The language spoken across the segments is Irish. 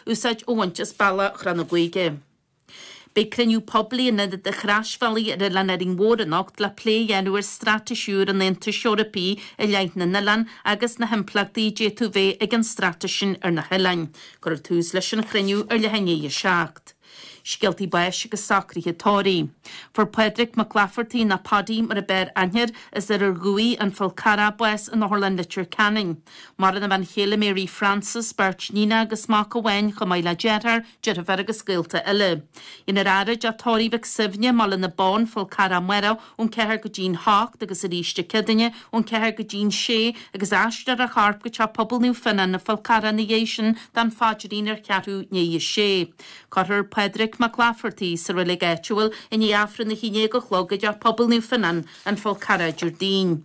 úsáid a bhaint as bealach Chnoc na Gaoithe. Beidh cruinniú poiblí in Ionad an Chroisbhealaigh ar Oileán Árainn Mhór anocht le plé a dhéanamh ar straitéis úr an Aontais Eorpaigh i leith na n-oileán agus na himpleachtaí a d'fhéadfadh bheith ag an straitéis sin ar na hoileáin. Cuirfear tús leis an chruinniú ar leath i ndiaidh a 7. Scéaltaí báis agus socruithe tórraimh. Fuair Pádraig Mac Laifeartaigh, nó Paddy mar a b'fhearr aithne air, as Iarthar Dhumhaí, An Fál Carrach, bás in Otharlann Leitir Ceanainn. Maireann a bhean chéile Mary Frances, beirt níonacha agus mac amháin chomh maith le deartháir, deirfiúr agus gaolta eile. Déanfar faire i dTeach Tórraimh Mhic Suibhne, mBaile na Bonn, Fál Carrach amárach ón 4 go dtí'n 8 agus arís Dé Céadaoine ón 4 go dtí'n 6 agus aistreofar a chorp go Teach Pobail Naomh Fionnán, An Fál Carrach ina dhiaidh sin don phaidrín ar cheathrú i ndiaidh a sé. Cuirfear Pádraig Mac Laifeartaigh sa reilig áitiúil i ndiaidh Aifreann a haon déag a chlog i dTeach Pobail Naomh Fionnán, An Fál Carrach Déardaoin.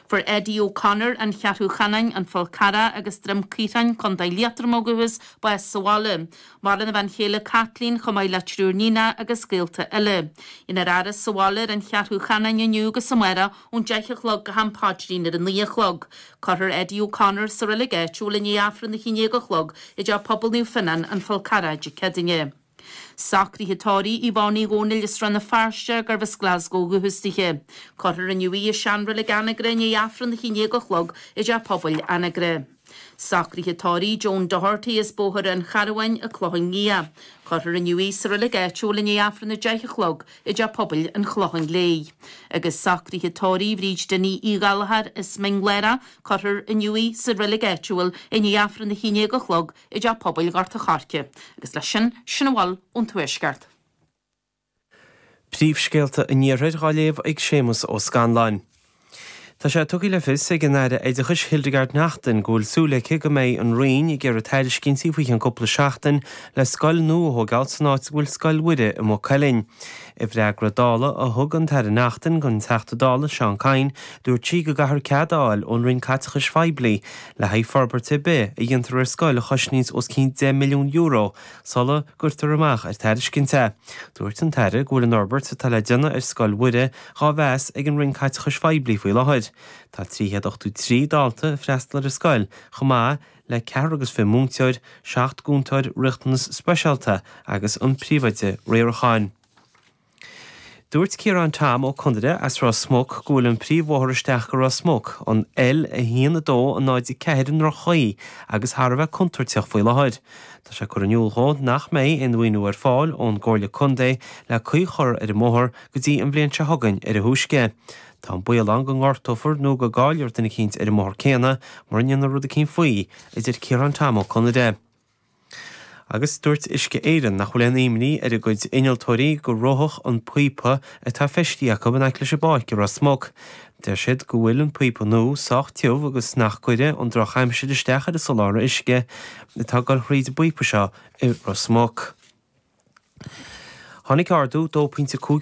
Fuair Eddie O'Connor, An Cheathrú Chanáin, An Fál Carrach agus Droim Caorthainn, Co. Liatroma ó dhúchas, bás sa bhaile. Maireann a bhean chéile Caitlín chomh maith le triúr níonacha agus gaolta eile. Déanfar a fhaire sa bhaile ar an Cheathrú Chanáin inniu agus amárach ón 10 a chlog go ham paidrín ar a 9 a chlog. Cuirfear Eddie O'Connor sa reilig áitiúil i ndiaidh Aifreann a 11 a chlog i dTeach Pobail Naomh Fionnán, An Fál Carrach Dé Céadaoine. Socruithe tórraimh Yvonne Uí Dhónaill as Rann na Feirste, gurbh as Glasgow ó dhúchas dithe. Cuirfear inniu í i seanreilig Anagaire i ndiaidh Aifreann a 11 a chlog i dTeach Pobail Anagaire. Socruithe tórraimh Joan Doherty as Bóthar an Charbháin, An Clochán Liath. Cuirfear inniu í sa reilig áitiúil i ndiaidh Aifreann 10 a chlog i dTeach Pobail an Chlocháin Léith. Agus socruithe tórraimh Bhríd Dinny Uí Ghallchóir as Mín Lárach, cuirfear inniu í sa reilig áitiúil i ndiaidh Aifreann 11 a chlog i dTeach Pobail Ghort an Choirce. Agus leis sin, sin a bhfuil ón Tuaisceart. Príomhscéalta an Iarthair á léamh ag Séamus Ó Scanláin. Tá sé tugtha le fios ag an Aire Oideachais Hildegarde Naughton go bhfuil súil aici go mbeidh an Roinn ag iarraidh tairiscintí faoi cheann cúpla seachtain le scoil nua a thógáil san áit a bhfuil Scoil Mhuire i Maigh Cuilinn. I bhfreagra Dála a thug an tAire Naughton don Teachta Dála Seán Kyne, dúirt sí go gcaithfear cead a fháil ón Roinn Caiteachais Phoiblí le haghaidh forbairt ar bith a dhéantar ar scoil a chosnaíonns os cionn €10 milliún sula gcuirtear amach ar tairiscint é. Dúirt an tAire go bhfuil an fhorbairt atá le déanamh ar Scoil Mhuire dhá mheas ag an Roinn Caiteachais Phoiblí faoi láthair. Tá 383 dalta ag freastal ar an scoil chomh maith le ceathrar agus 20 múinteoir, 7 gcúntóir riachtanas speisialta agus an príomhoide riaracháin. Dúirt Ciarán Tom Ó Conaire as Ros Muc go bhfuil an príomhbhóthar isteach go Ros Muc, an L1 2 0 4 i ndroch-chaoi agus thar a bheith contúirteach faoi láthair. Tá sé curtha in iúl dhó nach mbeidh aon mhaoiniú ar fáil ón gComhairle Contae le caoi a chur ar an mbóthar go dtí an bhliain seo chugainn ar a thúisce. Tá an baol ann go ngortófar nó go gcaillfear duine eicínt ar an mbóthar céanna mura ndéanfar rud eicínt faoi, a deir Ciarán Tom Ó Conaire. Agus dúirt Uisce Éireann nach bhfuil aon imní ar a gcuid innealtóirí go reofadh an píopa atá feistithe acu in aice leis an bpáirc i Ros Muc. Deir siad go bhfuil an píopa nua sách tiubh agus nach gcuirfidh an drochaimsir isteach ar an soláthar uisce atá ag dul thríd an bpíopa seo i Ros Muc. Tháinig ardú 2.5% go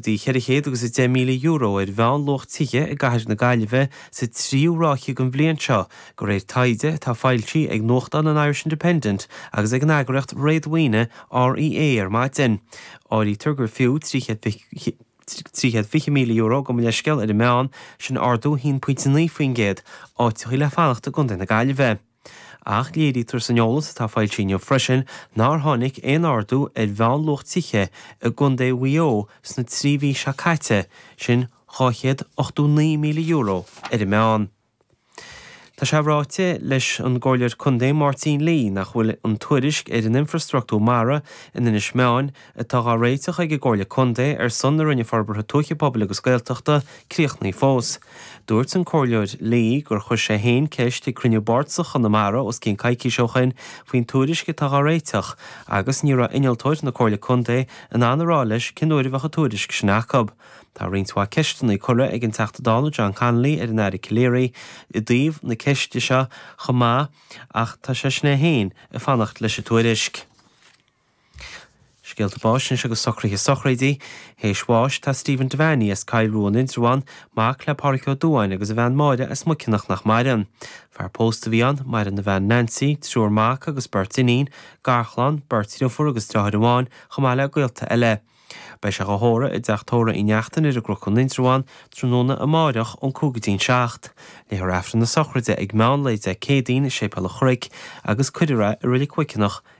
dtí €410,000 ar mheánluach tithe i gcathair na Gaillimhe sa tríú ráithe den bhliain seo, de réir taighde atá foilsithe ag nuachtán an Irish Independent agus ag an eagraíocht réadmhaoine REA ar maidin. Áirítear gur fiú €320,000 gabh mo leithscéal ar an meán, sin ardú 1.9%, áiteachaí le fanacht i gContae na Gaillimhe. Ach léirítear san eolas atá foilsithe inniu freisin nár tháinig aon ardú ar mheánluach tithe i gContae Mhaigh Eo sna 3 mhí seo caite, sin €289,000 ar an meán. Tá sé ráite leis an gComhairleoir Contae Máirtín Lee nach bhfuil an tuairisc ar an infreastruchtúr mara in Inis Meáin atá dhá réiteach ag an gComhairle Contae ar son na Roinne Forbartha Tuaithe Pobail agus Gaeltachta críochnaithe fós. Dúirt an Comhairleoir Lee gur chuir sé féin ceist ag cruinniú bardasach Chonamara os cionn coicíse ó shoin faoin tuairisc atá dhá réiteach agus ní raibh innealtóir na Comhairle Contae in ann a rá leis cén uair a bheadh an tuairisc sin acu. Tá roinnt mhaith ceisteanna curtha ag an Teachta Dála John Connolly ar an Aire Calleary i dtaobh na ceiste seo chomh maith ach tá seisean é féin ag fanacht leis an tuairisc. Scéalta báis anois agus socruithe sochraide. Théis bháis tá Stephen Devaney as Cill Rua in Indreabhán, mac le Pádhraic Ó Dubháin agus a bhean Máire as Muiceanach nach maireann. Fear pósta a bhí ann, maireann a bhean Nancy, triúr mac agus beirt iníon, garchlann, beirt dhriofúr agus driotháir amháin, chomh maith le gaolta eile. Beidh sé dhá thórramh i dTeach Tórraimh Uí Neachtain ar an gCnoc in Indreabhán tráthnóna amáireach ón 5 go dtí'n 7. Léifear Aifreann na sochraide ag meán lae Dé Céadaoin i Séipéal an Chnoic agus cuirfear é i Reilig Mhuiceanach.